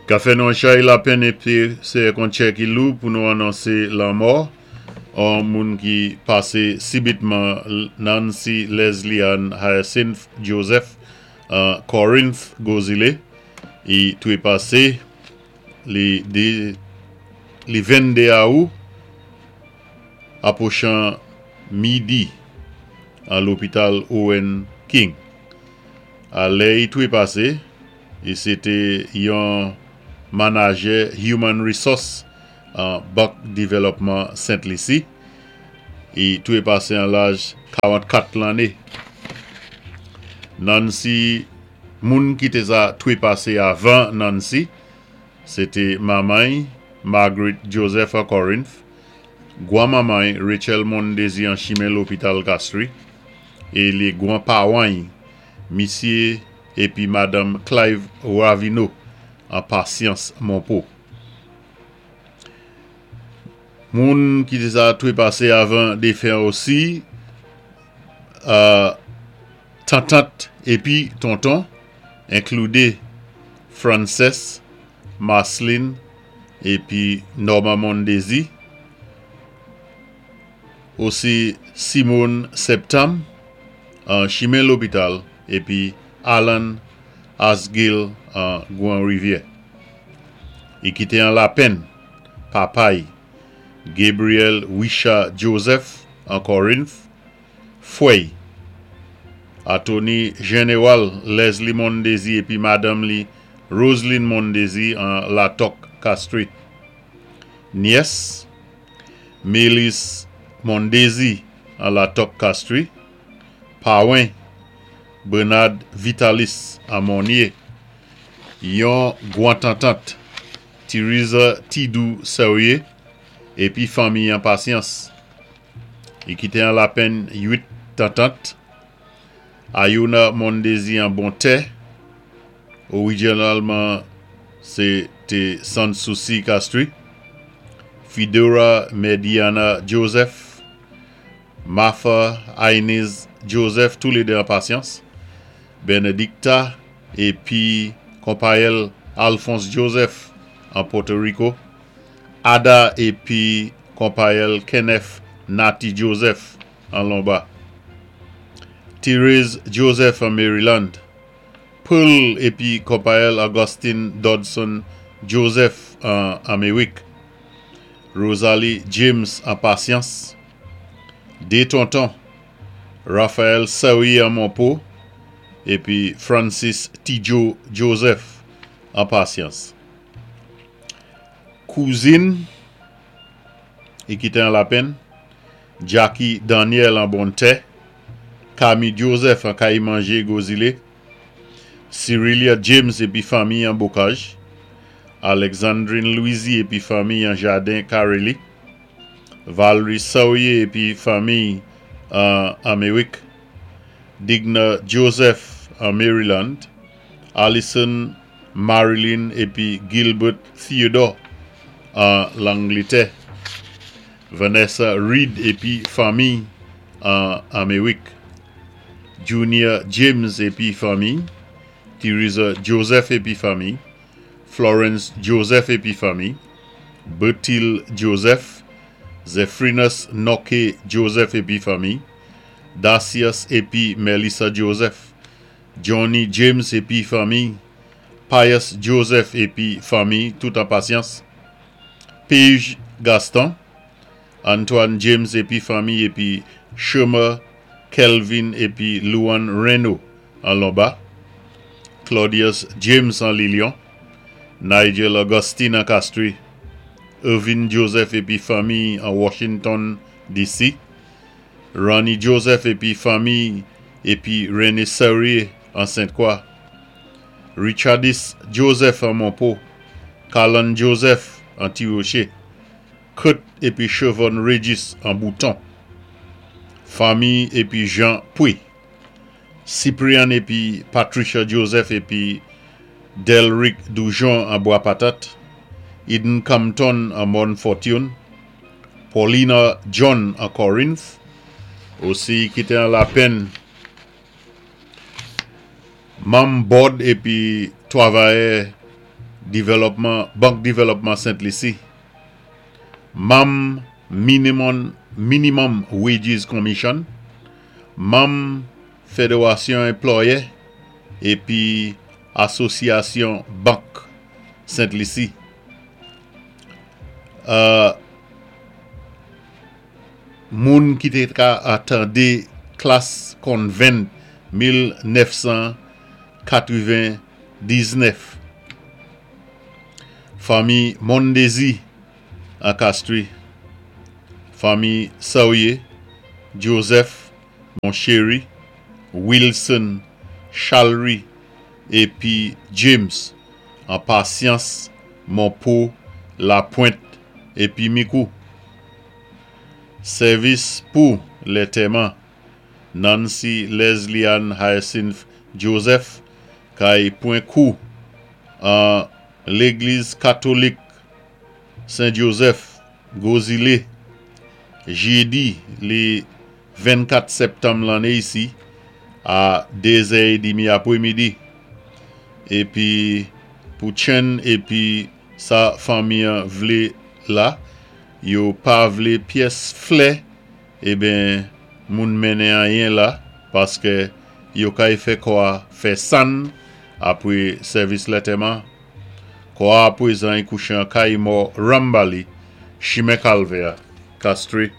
Ka fè nou an chay lapenn épi sé ak an tchè ki lou pou nou anonsé lanmò an moun ki pasé sibitman, Nancy Leslie Ann Hyacinth Joseph an Corinth, Gwozilé. I twépasé li li 22 Awou apwochan midi an lopital Owen King. A lè i twépasé, i sété yon manajè Human Resource an Bank Divèlòpman Sent Lisi. I twépasé an laj 44 lanné. Nancy, moun ki té sa twépasé avan Nancy, sété manman-y, Margaret Joseph an Corinth, gwan-manman-y, Rachel Mondésir an chimen lopital Castries, é lé gwan pawan-y, Misyé épi Madanm Clive Ravineau an Pasyans, Monpo. Moun ki té sa twépasé avan défen an osi, tantant épi tonton, inkloudé Frances, Marceline épi Norma Mondésir, osi Simone Septembre an chimen lopital épi Alan Asgill an Gwan Rivyè. I kité an lapenn papa-y, Gabriel Wisha Joseph an Corinth, fwè-y, Atoni Jénéwal Leslie Mondésir épi madanm li Roseline Mondésir an Latòk, Castries. Nyès, Mélis Mondésir an Latòk, Castries. Pawen, Bernard Vitalis an Monnier. Yon gwan tantant, Theresa Tidou Serrier épi fanmi an Pasyans. I kité an lapenn 8 tantant, Ayona Mondésir an Bontè, orijinalman sé té Sans Souci, Castries, Fidora Mediana Joseph, Martha Inez Joseph, toulédé an Pasyans, Benedicta épi konpayèl Alphonse Joseph an Pòto Rico, Ada épi konpayèl Kenneth Natty Joseph an Lonba, Therese Joseph an Maryland, Pearl épi konpayèl Augustine Dodson Joseph an Améwik, Rosalie James an Pasyans, dé tonton, Raphaël Serrier an Monpo épi Francis Tidjo Joseph an Pasyans. Kouzin i kité an lapenn, Jackie Daniel an Bontè, Camille Joseph an Kay Manje, Gwozilé, Cyrilia James épi fanmi an Bocage, Alexandrine Louisy épi fanmi an Jaden Carely, Valerie Serrier épi fanmi an Améwik, Digna Joseph an Maryland, Allison Marilyn épi Gilbert Theodore an Langlétè, Vanessa Reed épi fanmi an Améwik, Junior James épi fanmi, Theresa Joseph épi fanmi, Florence Joseph épi fanmi, Bertil Joseph, Zephyrinus Noke Joseph épi fanmi, Dacius épi Melissa Joseph, Johnny James épi fanmi, Pius Joseph épi fanmi, tout an Pasyans, Paige Gaston, Antoine James épi fanmi épi Shermer Kelvin épi Luan Reno an Lonba, Claudius James an Lilion, Nigel Augustine an Castries, Irvin Joseph épi fanmi an Washington, D.C., Ronnie Joseph épi fanmi épi René Serrier an Sainte-Croix, Richardis Joseph an Monpo, Carlan Joseph an Ti-Rocher, Kurt épi Chevonne Regis an Bouton, fanmi épi Jean Pouy, Cyprian épi Patricia Joseph épi Delrick Doujon an Bois Patate, Eden Compton an Morne Fortune, Paulina John an Corinth, osi kité an lapenn manm bòd épi twavayè Divèlòpman Bank Divèlòpman Sent Lisi, manm Minimum Wages Commission, manm Federasyon Enplòyè épi Asosyasyon Bank Sent Lisi. Moun ki té ka tandé Klas Konvent 1999. Fanmi Mondésir an Castries, fanmi Saurier, Joseph, Monchéry, Wilson, Chalry épi James an Pasyans, Monpo, Lapwent épi Mikou. Sèvis pou lètèman Nancy Leslie-Ann Hyacinth Joseph kay pwan kou an Légliz Katolik Sen Joseph, Gwozile, jédi lé 24 sèptanm lanné isi a 2 zè édmi apwémidi. Épi pou Chen épi sa fanmi an vlé la, yo pa vlé pyès flè eben moun mennen anyen la paskè yo kay fè kò a fè sann apwé sèvis lètèman. Kò a apwézan y kouché an kay mò Rambali, chimen Kalvè, Castries.